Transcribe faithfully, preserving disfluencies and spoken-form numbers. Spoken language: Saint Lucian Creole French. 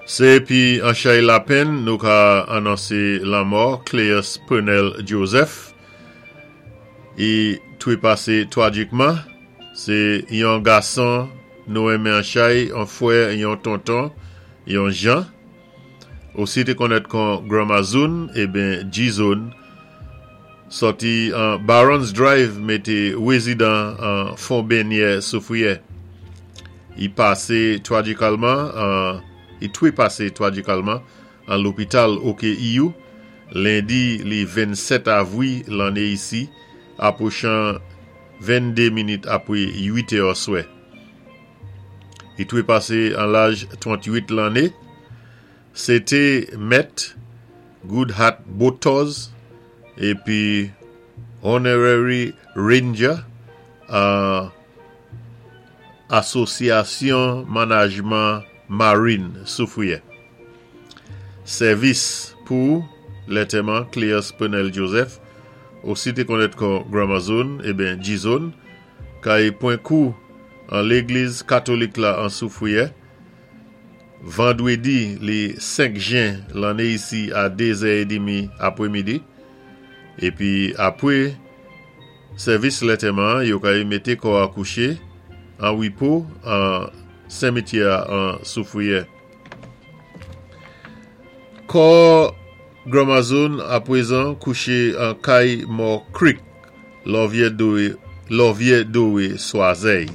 Sé pi an chay lapenn nou ka anonsé lanmò Cleus Pernel Joseph. I twé pasé twajikman. Sé yon gason nou enmen an chay, an fwè, yon tonton, yon jan. Osi té konnèt kon Grandma Zone, ébyen G-Zone. Sòti an Barons Drive mé té wézidan an Fon Benyè Soufwiyè. I pasé twajikalman an i twé pasé twajikalman an lopital O K E U lendi li vennsèt avwi lanné isi apwochan vennde minit apwé uit è swè. I twé pasé an laj tranntwit lanné. Sé té mèt Good Hat Boat Tours épi Honorary Ranger an Asosyasyon Manajman Marin Soufwiyè. Sèvis pou lantèman Cleus Pernel Joseph, osi té konnèt kon Grandma Zone, ébyen G-Zone, kay pwan kou an légliz katolik la an Soufwiyè, vandwédi li senk jen lanné isi a dé zè édmi apwémidi, épi apwé sèvis lantèman, yo kay mété kò a kouché an wipo an simityè an Soufwiyè. Kò Grandma Zone apwézan kouché an kay Mò Creek, Lòvyè Dowé, Lòvyè Dowé Swazèy.